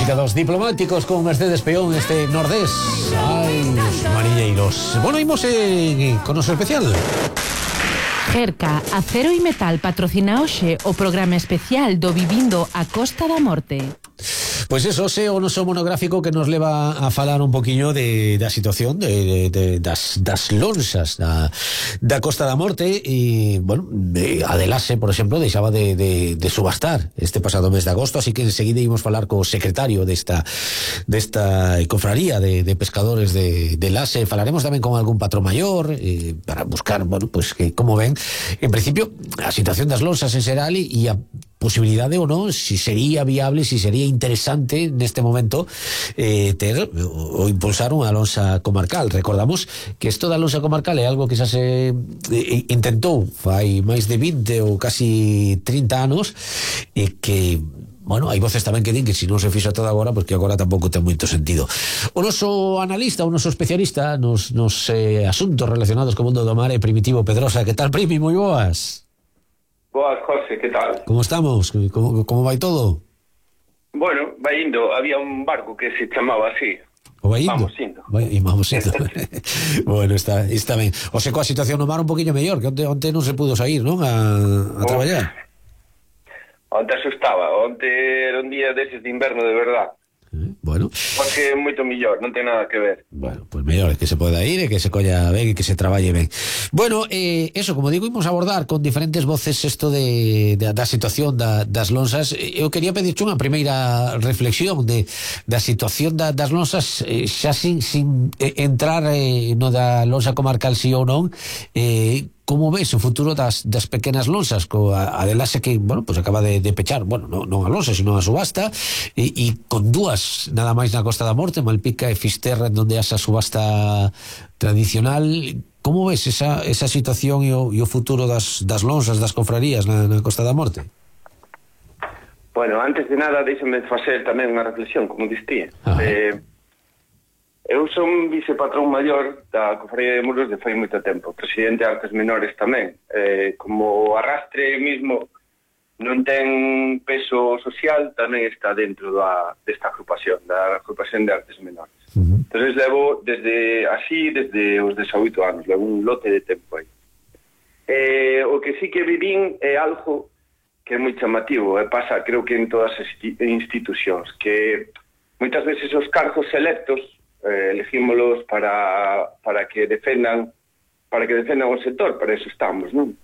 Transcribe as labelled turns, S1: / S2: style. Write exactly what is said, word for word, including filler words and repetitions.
S1: música dos Diplomáticos con Mercedes Peón, este Nordés. Ai, os mariñeiros. Bueno, imos en, con noso especial.
S2: Gerca, Acero e Metal patrocina hoxe o programa especial do Vivindo a Costa da Morte.
S1: Pois eso, xe o noso monográfico que nos leva a falar un poquinho de, da situación de, de, de, das, das lonxas da, da Costa da Morte. E, bueno, a de Lase, por exemplo, deixaba de, de, de subastar este pasado mes de agosto, así que enseguida ímos falar co secretario desta, desta cofraría de, de pescadores de, de Lase. Falaremos tamén con algún patrón maior eh, para buscar, bueno, pues que como ven, en principio, a situación das lonxas en xeral e a posibilidade ou non, si sería viable, si sería interesante neste momento eh, ter ou impulsar unha lonxa comarcal. Recordamos que isto da lonxa comarcal é algo que xa se eh, intentou fai máis de vinte ou casi trinta anos e que, bueno, hai voces tamén que din que se non se fixo todo agora, pois que agora tampouco ten moito sentido. O noso analista, o noso especialista nos, nos eh, asuntos relacionados co mundo do mar é Primitivo Pedrosa. Que tal, Primi? Moi boas.
S3: Boas, José, que tal?
S1: Como estamos? Como, como vai todo?
S3: Bueno, vai indo. Había un barco que se chamaba así.
S1: O vai indo?
S3: Vamos indo.
S1: Vai, e vamos indo. Bueno, está, está ben. O sei, coa situación no mar un poquinho mellor, que onte, onte non se pudo sair, non? A, a traballar.
S3: Onte asustaba. Onte era un día deses de inverno de verdad.
S1: Eh, bueno.
S3: Porque é moito mellor, non ten nada que ver.
S1: Bueno, pues mellor é que se poda ir e que se colla ben e que se traballe ben. Bueno, eh, eso, como digo, imos abordar con diferentes voces isto de, de, da situación da, das lonxas. Eu quería pedirche unha primeira reflexión de, da situación da, das lonxas, eh, xa sin, sin eh, entrar eh, no da lonxa comarcal si ou non. eh, Como ves o futuro das, das pequenas lonxas, co a, a de Lase que, bueno, pues acaba de, de pechar, bueno, non, non a lonxa, sino a subasta, e, e con dúas nada máis na Costa da Morte, Malpica e Fisterra, onde esa subasta tradicional. Como ves esa, esa situación e o, e o futuro das, das lonxas, das cofrarías na, na Costa da Morte?
S3: Bueno, antes de nada, déxame facer tamén unha reflexión, como distí. Eh, eu son vicepatrón maior da Cofradía de Muros de fai moito tempo, presidente de Artes Menores tamén. Eh, como arrastre mismo non ten peso social, tamén está dentro da, desta agrupación, da agrupación de Artes Menores. Uh-huh. Entonces levo desde así, desde os dezaoito anos, levo un lote de tempo aí. Eh, o que sí que vivín é algo que é moi chamativo, e pasa, creo que en todas as institucións, que moitas veces os cargos electos eh, elegímolos para, para que defendan para que defendan o sector, para eso estamos, non?